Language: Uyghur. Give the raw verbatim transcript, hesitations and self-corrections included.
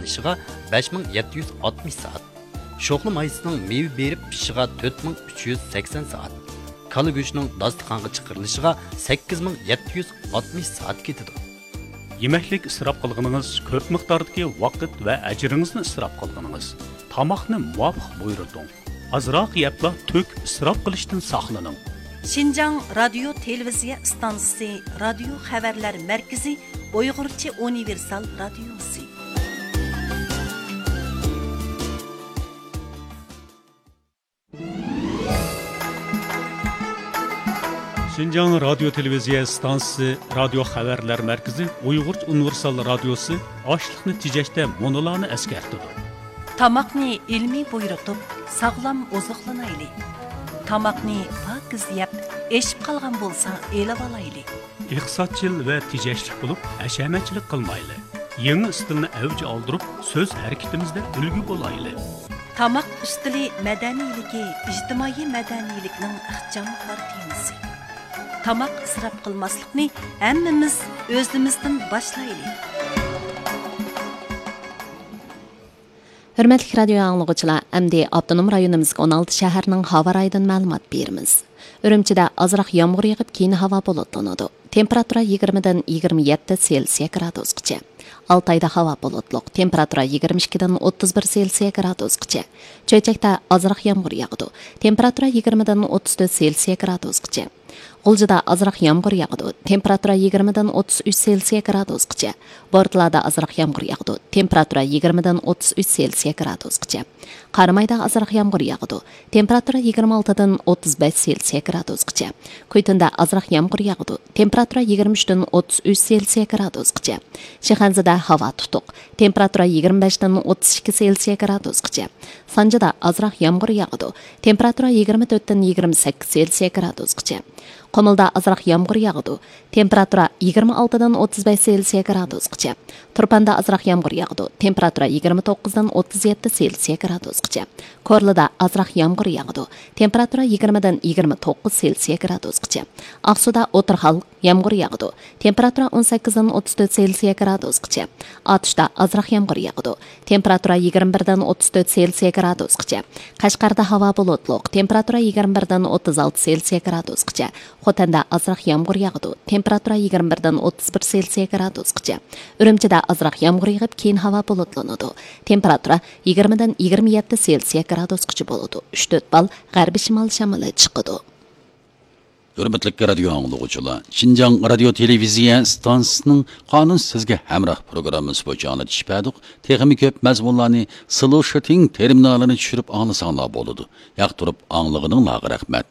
پىشىشىغا بەش مىڭ يەتتە يۈز ئاتمىش سائەت، شوخلا مايسىنىڭ مېۋە بېرىپ پىشىشىغا تۆت مىڭ ئۈچ يۈز سەكسەن سائەت، كالا گۆشىنىڭ داستىخانغا چىقىرىلىشىغا سەككىز مىڭ يەتتە يۈز ئاتمىش سائەت كېتىدۇ. يېمەكلىك ئىسراپ قىلغىنىڭىز، كۆپ مىقداردىكى ۋاقىت ۋە ئەجرىڭىزنى ئىسراپ قىلغىنىڭىز. تاماقنى مۇۋاپىق بۇيرۇتۇڭ. ئازراق يەپلا تۆكۈپ ئىسراپ قىلىشتىن ساقلىنىڭ. شىنجاڭ رادىيو تېلېۋىزىيە ئىستانسىسى رادىيو خەۋەرلەر مەركىزى ئۇيغۇرچە ئۇنىۋېرسال رادىيوسى. شىنجاڭ رادىيو تېلېۋىزىيە ئىستانسىسى رادىيو خەۋەرلەر مەركىزى ئۇيغۇرچە ئۇنىۋېرسال رادىيوسى ئاشلىقنى تېجەشتە مۇنۇلارنى ئەسكەرتىدۇ. تاماقنى ئىلمىي بۇيرۇتۇپ، ساغلام ئوزۇقلىنايلى. تاماقنى پاكىز يەپ، ئېشىپ قالغان بولسا ئېلىۋالايلى. ئىقتىسادچىل ۋە تېجەشلىك بولۇپ، ھەشەمەتچىلىك قىلمايلى. يېڭى ئىستىلنى ئەۋج ئالدۇرۇپ، سۆز ھەرىكىتىمىزدە ئۈلگە بولايلى. تاماق ئۈستىلى مەدەنىيلىكى ئىجتىمائىي مەدەنىيلىكنىڭ ئىخچام كارتىنىسى. تاماق ئىسراپ قىلماسلىقنى ھەممىمىز ئۆزىمىزدىن باشلايلى. ھۆرمەتلىك رادىيو ئاڭلىغۇچىلار، ئەمدى ئاپتونوم رايونىمىزدىكى ئون ئالتە شەھەرنىڭ ھاۋا رايىدىن مەلۇمات بېرىمىز. ئۈرۈمچىدە ئازراق يامغۇر يېغىپ، كېيىن ھاۋا بۇلۇتلىنىدۇ. تېمپېراتۇرا يىگىرمىدىن يىگىرمە يەتتە سېلسىيە گرادۇسقىچە. ئالتايدا ھاۋا بۇلۇتلۇق، تېمپېراتۇرا يىگىرمە ئىككىدىن ئوتتۇز بىر سېلسىيە گرادۇسقىچە. چۆچەكتە ئازراق يامغۇر ياغىدۇ، تېمپېراتۇرا يىگىرمىدىن ئوتتۇز تۆت سېلسىيە گرادۇسقىچە. غۇلجىدا ئازراق يامغۇر ياغىدۇ، تېمپېراتۇرا يىگىرمىدىن ئوتتۇز ئۈچ سېلسىيە گرادۇسقىچە. بورتالادا ئازراق يامغۇر ياغىدۇ، تېمپېراتۇرا يىگىرمىدىن ئوتتۇز ئۈچ سېلسىيە گرادۇسقىچە. قارامايدا ئازراق يامغۇر ياغىدۇ، تېمپېراتۇرا يىگىرمە ئالتىدىن ئوتتۇز بەش سېلسىيە گرادۇسقىچە. كۈيتۇندە ئازراق يامغۇر ياغىدۇ، تېمپېراتۇرا يىگىرمە ئۈچتىن ئوتتۇز ئۈچ سېلسىيە گرادۇسقىچە. شىخەنزىدە ھاۋا تۇتۇق، تېمپېراتۇرا يىگىرمە بەشتىن ئوتتۇز ئىككى سېلسىيە گرادۇسقىچە. سانجىدا ئازراق يامغۇر ياغىدۇ، تېمپېراتۇرا يىگىرمە تۆتتىن يىگىرمە سەككىز سېلسىيە گرادۇسقىچە. قۇمۇلدا ئازراق يامغۇر ياغىدۇ، تېمپېراتۇرا يىگىرمە ئالتىدىن ئوتتۇز بەش سېلسىيە گرادۇسقىچە. تۇرپاندا ئازراق يامغۇر ياغىدۇ، تېمپېراتۇرا يىگىرمە توققۇزدىن ئوتتۇز يەتتە سېلسىيە گرادۇسقىچە. كورلىدا ئازراق يامغۇر ياغىدۇ، تېمپېراتۇرا يىگىرمىدىن يىگىرمە توققۇز سېلسىيە گرادۇسقىچە. ئاقسۇدا ئوتتۇرا ھال يامغۇر ياغىدۇ، تېمپېراتۇرا ئون سەككىزدىن ئوتتۇز تۆت سېلسىيە گرادۇسقىچە. ئاتۇشتا ئازراق يامغۇر ياغىدۇ، تېمپېراتۇرا يىگىرمە بىردىن ئوتتۇز تۆت سېلسىيە گرادۇسقىچە. قەشقەردە ھاۋا بۇلۇتلۇق، تېمپېراتۇرا يىگىرمە بىردىن ئوتتۇز ئالتە سېلسىيە گرادۇسقىچە. خوتەندە ئازراق يامغۇر ياغىدۇ، تېمپېراتۇرا يىگىرمە بىردىن ئوتتۇز بىر سېلسىيە گرادۇسقىچە. ئۈرۈمچىدە ئازراق يامغۇر يېغىپ، كېيىن ھاۋا بۇلۇتلىنىدۇ، تېمپېراتۇرا يىگىرمىدىن يىگىرمە يەتتە سېلسىيە گرادۇسقىچە بولىدۇ. ئۈچ تۆت بال غەربىي شىمال شامىلى چىقىدۇ. ھۆرمەتلىك رادىيو ئاڭلىغۇچىلار، شىنجاڭ رادىيو تېلېۋىزىيە ئىستانسىسىنىڭ قانۇن سىزگە ھەمراھ پروگراممىسى بويىچە ئاڭلىتىش بەردۇق. تېخىمۇ كۆپ مەزمۇنلارنى سلوشىتىڭ تېرمىنالىنى چۈشۈرۈپ ئاڭلىساڭلار بولىدۇ. ياقتۇرۇپ ئاڭلىغىنىڭلارغا رەھمەت.